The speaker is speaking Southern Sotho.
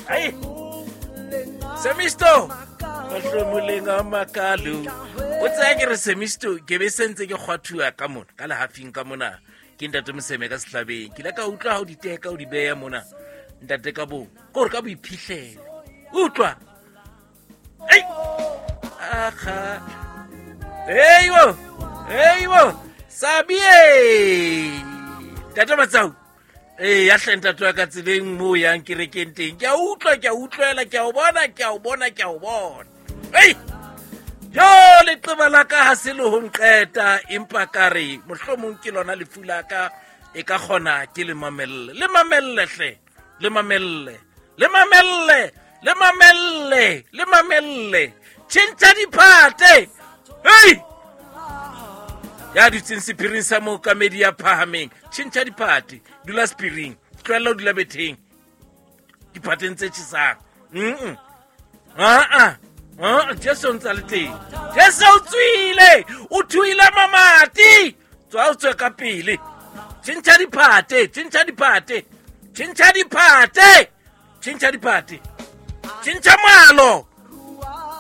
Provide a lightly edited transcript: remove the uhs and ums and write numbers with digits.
Ai Semisto mahlomoleng a makalo o tsaya ke re Semisto ke be sentse ke kgwathuwa ka mona ka lehafing ka mona ke ntate Moseme ka sehlabeng ke ile ka utlwa ha o di teka o di beya mona ntate ka bo kore ka boiphihlelo utlwa ei aga eibo eibo sabie ntate Matsau ee ya hle ntate wa ka tseleng mo o yang kerekeng teng ke a utlwa ke a utlwela ke a o bona ke a o bona ke a o bona ei jo leqeba la ka ga se le go nqeta empa ka re mohlomong ke lona lefu la ka e ka kgona ke le mamelle le mamelle hle le mamelle le mamelle le mamelle le mamelle tšhentšha diphate hei ya dutseng sephiring sa mookamedi ya phahameng tšhentšha diphate dula sephiring tloelela o dula betheng diphateng tse tšhesang mm aa aa Jesu o ntse a le teng Jesu o tswile o thuile mamati tswa o tswe ka pele tšhentšha diphate tšhentšha diphate tšhentšha diphate tšhentšha diphate tšhentšha moalo.